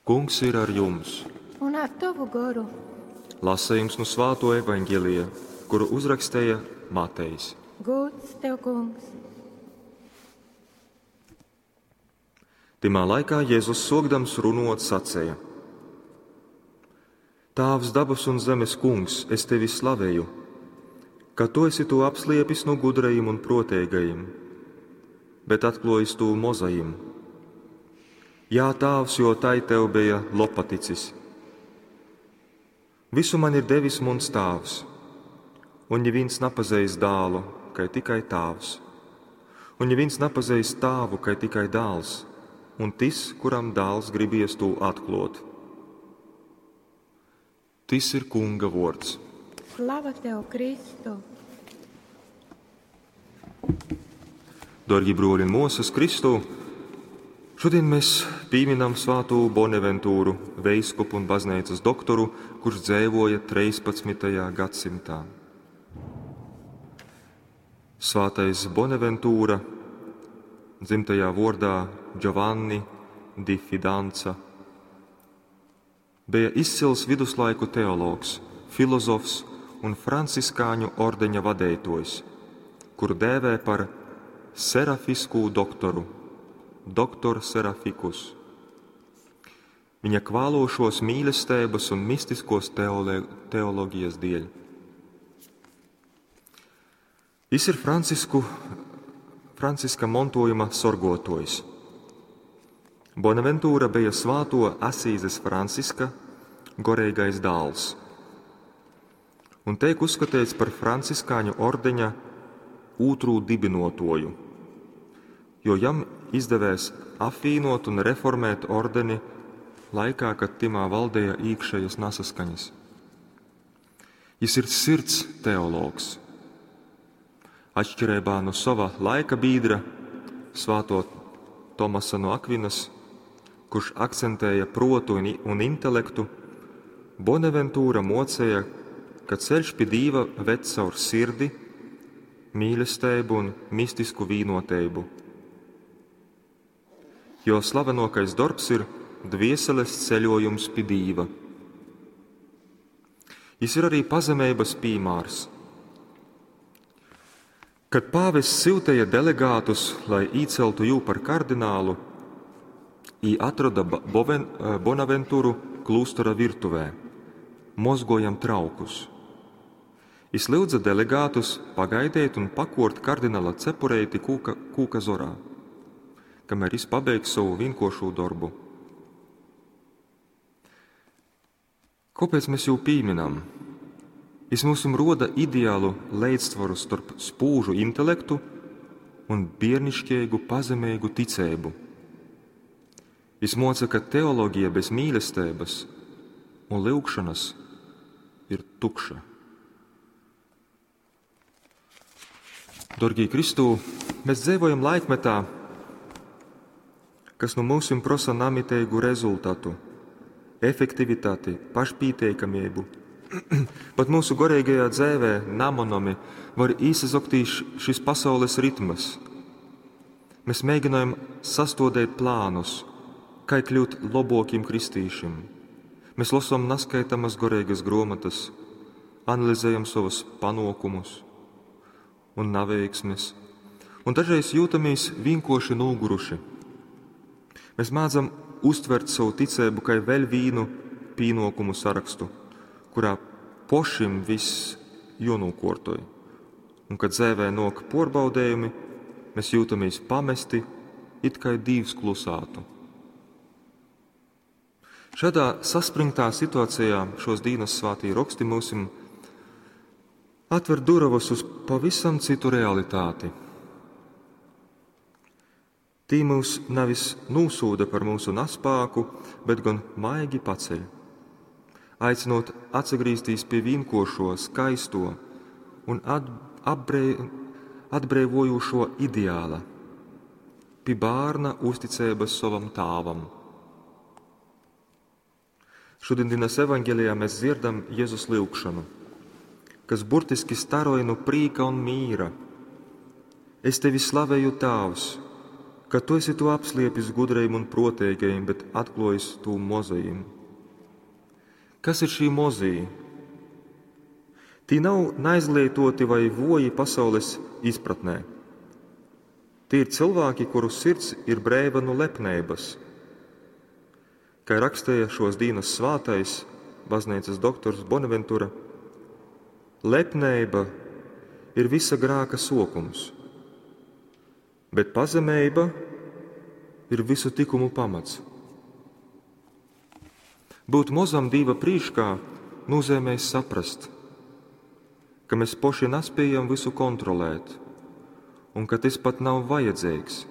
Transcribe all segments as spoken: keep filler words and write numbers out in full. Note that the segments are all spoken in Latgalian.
Kungs ir ar jums! Un ar tovu goru. Lasījums nu Svāto evaņģelija, kuru uzrakstīja Matejs. Gods tev, kungs! Timā laikā Jēzus sokdams runot sacēja: Tāvs dabas un zemes kungs, es tevi slavēju, ka tu esi to apsliepis no gudrajiem un protēgajiem, bet atklājis to mozajiem. Jā, Tāvs, jo tai tev bija lopaticis. Visu man ir devis muns Tāvs, un neviens napazeis dālu, kai tikai Tāvs, un neviens napazeis Tāvu, kai tikai dāls, un tis, kuram dāls gribies to atklot. Tis ir Kunga vords. Slava tev, Kristu! Dorgi broļi un mosas Kristū, šodien mēs pieminam svātū Bonaventūru, veiskupu un baznīcas doktoru, kurš dzēvoja trīspadsmitajā gadsimtā. Svātais Bonaventūra, dzimtajā vordā Giovanni di Fidanza, bija izcils viduslaiku teologs, filozofs un franciskāņu ordeņa vadeitojs, kuru dēvē par serafiskū doktoru, doktor Seraficus. Viņa kvālošos mīlestības un mistiskos teole, teoloģijas dēļ. Jis ir Francisku, Franciska montojuma sorgotojs. Bonaventūra bija svāto Asīzes Franciska goreigais dāls un teik uzskatīts par franciskāņu ordeņa ūtrū dibinotoju, jo jam izdevēs apvienot un reformēt ordeni laikā, kad timā valdēja īkšējas nasaskaņas. Jis ir sirds teologs. Atšķirībā no sava laika biedra, svāto Tomasa no Akvinas, kurš akcentēja protu un, un intelektu, Bonaventūra mocēja, ka ceļš pie Dīva ved caur sirdi, mīlestību un mistisku vīnotību. Jo slavenākais darbs ir dvieseles ceļojums pie Dīva. Jis ir arī pazemības piemērs. Kad pāvests sūtīja delegātus, lai īceltu jū par kardinālu, ī atrada Boven, Bonaventūru klūstera virtuvē, mozgojam traukus. Jis lūdza delegātus pagaidīt un pakort kardināla cepureiti kūka, kūka zorā, kamēr jis pabeigs savu vienkošo darbu. Kāpēc mēs jū pīminam? Jis mums roda ideālu līdzsvaru starp spūžu intelektu un biernišķīgu pazemīgu ticību. Jis moca, ka teoloģija bez mīlestības un lūgšanas ir tukša. Dorgī Kristū, mēs dzīvojam laikmetā, kas no mūsim prosa namiteigu rezultatu, efektivitāti, pašpīteikamību. Pat mūsu goreigajā dzēvē namonomi var īsazoktīs šis pasaules ritmas. Mēs mēģinājam sastodēt plānus, kā kļūt lobokim kristīšim. Mēs lasām naskaitamas goreigas gromatas, analizējam savus panokumus un naveiksmes, un dažreiz jūtamies vienkoši noguruši. Mēs mācam uztvert savu ticību kā vēl vīnu pīnokumu sarakstu, kurā pošim viss jonūkortoj. Un kad dzēvē nok porbaudējumi, mēs jūtamies pamesti, it kā Dīvs klusātu. Šādā saspringtā situācijā šos dīnas svātī raksti mūsim atver duravas uz pavisam citu realitāti. Tī mūs nevis nūsūda par mūsu naspāku, bet gan maigi paceļ, aicinot atsagrīztīs pie vienkošo, skaisto un atbrei, atbrīvojošo ideāla, pie bērna uzticības savam tāvam. Šodienas evaņģēlijā mēs dzirdam Jēzus lūgšanu, kas burtiski staroja no prīka un mīra. Es tevi slavēju, Tāvs, ka tu esi to apsliepis gudrajim un proteigajim, bet atklojis to mozajim. Kas ir šī mozī? Tī nav neizglietoti vai voji pasaules izpratnē. Tie ir cilvēki, kuru sirds ir breiva nu lepneibas. Kā rakstīja šos dienas svātais baznīcas doktors Bonaventura, lepneiba ir visa grāka sokums, bet pazemeiba ir visu tikumu pamats. Būt mozam Dīva prīškā nozīmē saprast, ka mēs poši nespējam visu kontrolēt un ka tas pat nav vajadzīgs.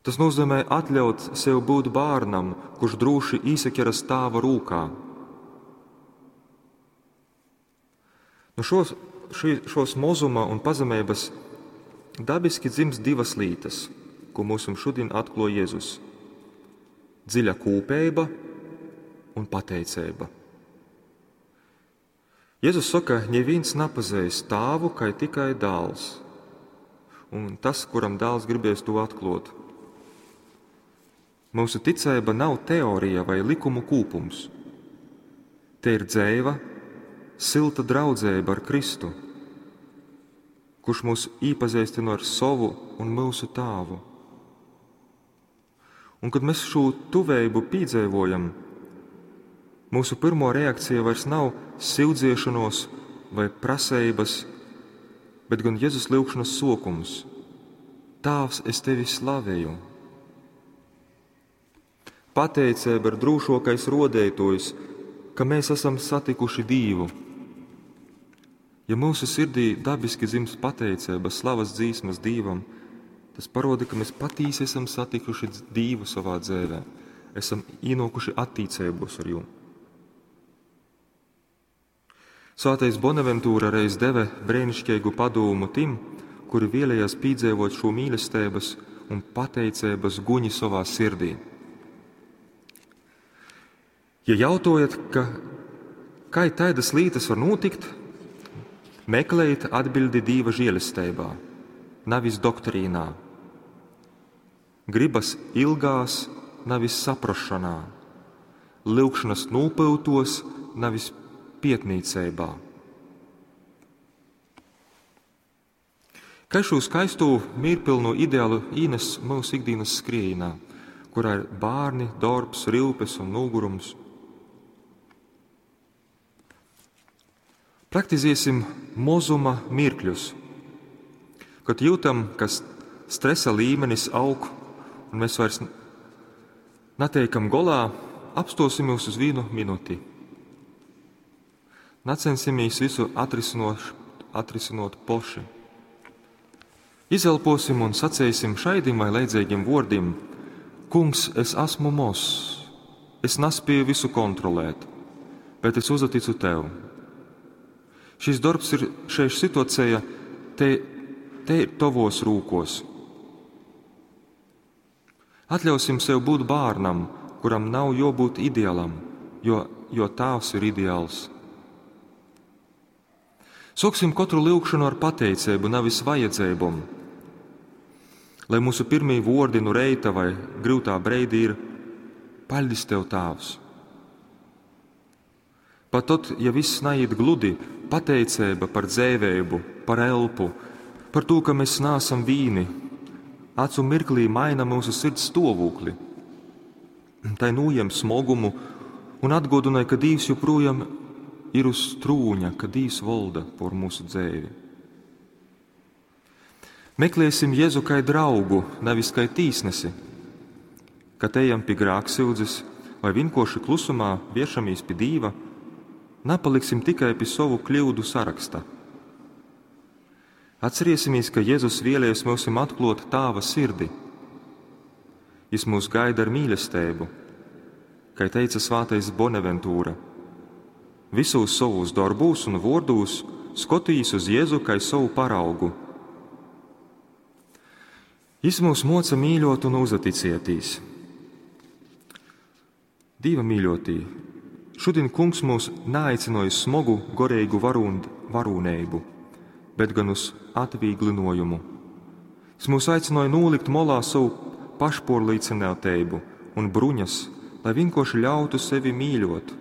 Tas nozīmē atļaut sev būt bērnam, kurš drūši īsaķeras tāva rūkā. Nu šos, šī, šos mozuma un pazemības dabiski dzimst divas lītas, ko mums šodien atklāja Jēzus - dziļa kūpeiba un pateicība. Jēzus saka, neviens nepazīst tāvu, kai tikai dāls, un tas, kuram dāls gribēs to atklāt. Mūsu ticība nav teorija vai likumu kūpums. Te ir dzēva, silta draudzība ar Kristu, kurš mūs īpazīstina ar savu un mūsu tāvu. Un kad mēs šo tuvējību piedzīvojam, mūsu pirmo reakcija vairs nav sildziešanos vai prasības, bet gan Jēzus lūgšanas sokums: Tāvs, es tevi slavēju! Pateicība ir drūšokais rodētojs, ka mēs esam satikuši Dievu. Ja mūsu sirdī dabiski dzimst pateicība, slavas dzīsmas Dievam, tas paroda, ka mēs patīsi esam satikuši Dievu savā dzīvē, esam ienākuši attīcībos ar jū. Svētais Bonaventūra reiz deve brēnišķīgu padomu tim, kuri vēlējās piedzīvot šo mīlestības un pateicības guņi savā sirdī. Ja jautojat, ka kā tādas lietas var notikt, meklējiet atbildi Dieva žēlestībā, nevis doktrīnā. Gribas ilgās, nevis saprašanā, lūgšanas nopūtos, nevis pietnīcībā. Kā šo skaisto mierpilnu ideālu īnes mūsu ikdienas skriejinā, kurā ir bērni, darbs, rūpes un nogurums. Praktizēsim mozuma mirkļus. Kad jūtam, ka stresa līmenis aug un mēs vairs neteikam golā, apstosimies uz vienu minūti. Necensimies visu atrisinot, atrisinot poši. Izelposim un sacīsim šaidim vai leidzīgiem vārdiem: Kungs, es esmu mozs, es nespēju visu kontrolēt, bet es uzticu tev. Šis darbs ir šeit situācija, te, te ir tavos rūkos. Atļausim sev būt bērnam, kuram nav jābūt ideālam, jo, jo tēvs ir ideāls. Sāksim katru lūgšanu ar pateicību, nevis vajadzībām. Lai mūsu pirmie vārdi nu reita vai grūtā breidī ir: Paļdis tev, Tēvs! Pat tad, ja viss naiet gludi, pateicība par dzēvēbu, par elpu, par to, ka mēs nāsam vīni, acu mirklī maina mūsu sirds stāvokli. Tai nūjem smogumu un atgodināja, ka Dievs joprojām ir uz trūņa, ka Dievs valda por mūsu dzēvi. Meklēsim Jēzu kā draugu, nevis kā tīsnesi. Kad ejam pie grāksūdzes vai vienkārši klusumā viešamies pie Dīva, nepaliksim tikai pie savu kļūdu saraksta. Atcerēsimies, ka Jēzus vēlēs mums atklāt Tāva sirdi. Jis mūs gaida ar mīlestību, kā teica svātais Bonaventūra. Visos savos darbūs un vārdūs skatījis uz Jēzu kā savu paraugu. Jis mūs moca mīļot un uzaticētīs. Dieva mīļotī, šodien kungs mūs neaicināja uz smagu gorīgu varūn, varūneibu, bet gan uz atvīglinojumu. Jis myus aicynoj nūlikt molā sovu pašpōrlīcynōteibu un bruņas, lai vīnkōrši ļautu sevi mīļōt.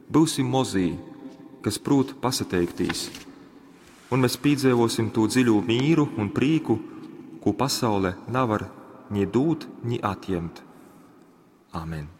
Byusim mozī, kas prūt pasateiktīs, un mes pīdzeivōsim tū dziļū mīru un prīku, kū pasaule navar ni dūt, ni atjemt. Amen.